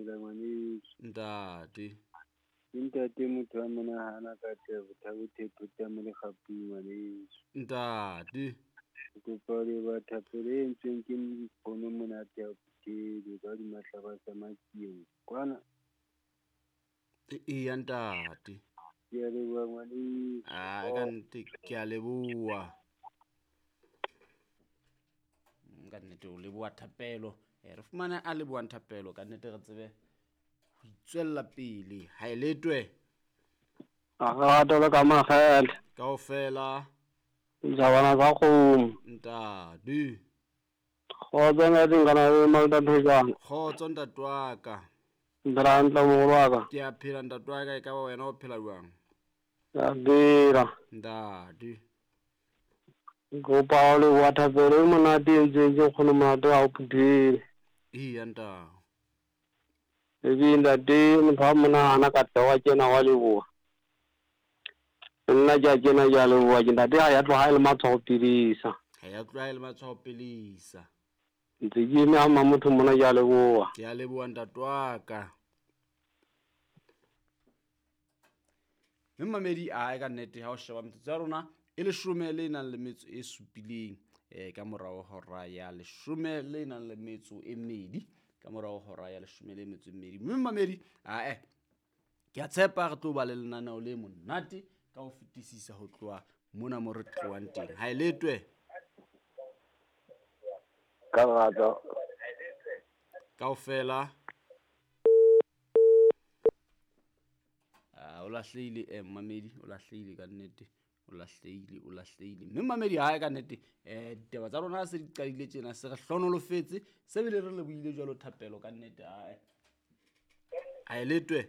phela ngwaneso. Ntate. Ke ntate motho a monahana ka tebo thabo thepho tsa mo lekgapung ngwaneso. Ntate. Ke kopa ho leboha thapelo e entsweng ke nkgono monate ya Phuthedi ka hodima hlaba sa Matsieng kwana. Eya ntate. Ke a leboha ngwaneso. Ah, ka nnete ke a leboha. Ka nnete o leboha thapelo. Re fumane a lebohang thapelo ka nnete re tsebe ho itswella pele. Ha e letwe. A rata le ka makgele. Kaofela. Dijabana tsa kgomo. Ntate. Kgotso ntate nkana le Malta Thojana. Kgotso ntate wa ka. Phela hantle moholo wa ka. Ke a phela ntate wa ka, e ka ba wena o phela jwang? Ke a phela. Ntate. Kopa ho leboha thapelo e monate e entsweng ke nkgono monate wa ho Phuthedi. Eya ntate. Ebe ntate motho wa monahana ka tla wa kena wa leboha. Nna ke a kena ke a leboha ke ntate ha ya tloha e le matshwao pilisa. Ha ya tloha e le matshwao pilisa. Ntse ke eme ha motho mona ke a leboha. Ke a leboha ntate wa ka. Mme mamedi a ka nnete ha o sheba metsotso ya rona e leshome le nang le metso e supileng ka morao hora ya leshome le nang le metso e mmedi ka morao hora ya leshome le metso e mmedi. Mme mamedi ae ke a tshepa re tlo ba le lenaneo le monate ka ho fetisisa ho tloha mona mo re tlohang teng. Ha e letwe. Ka rata. Kaofela. O lahlehile mamedi, o lahlehile ka nnete. O lahlehile. Mme mamedi hae ka nnete ditaba tsa rona se di qadile tjena se re hlonolofetse se bile re lebohile jwalo thapelo ka nnete hae. Ha e letwe.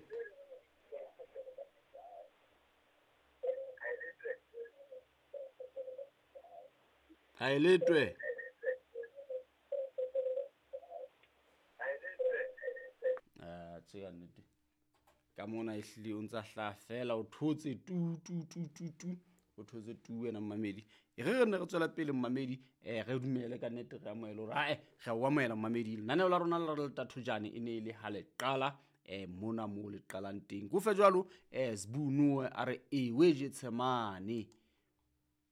Ha e letwe. Tse ka nnete. Ka mona ehlile o ntsa hlaha fela o thotse tu tu tu tu tu. O thotse tu wena mamedi. E re ne re tswela pele mamedi, re dumele ka nnete re amohele hore ae re o amohela mamedi. Lenaneo la rona la re Thojane e ne e le ha le qala mona mo le qalang teng. Ko fe jwalo Sbu Noe a re ewe Getsemane.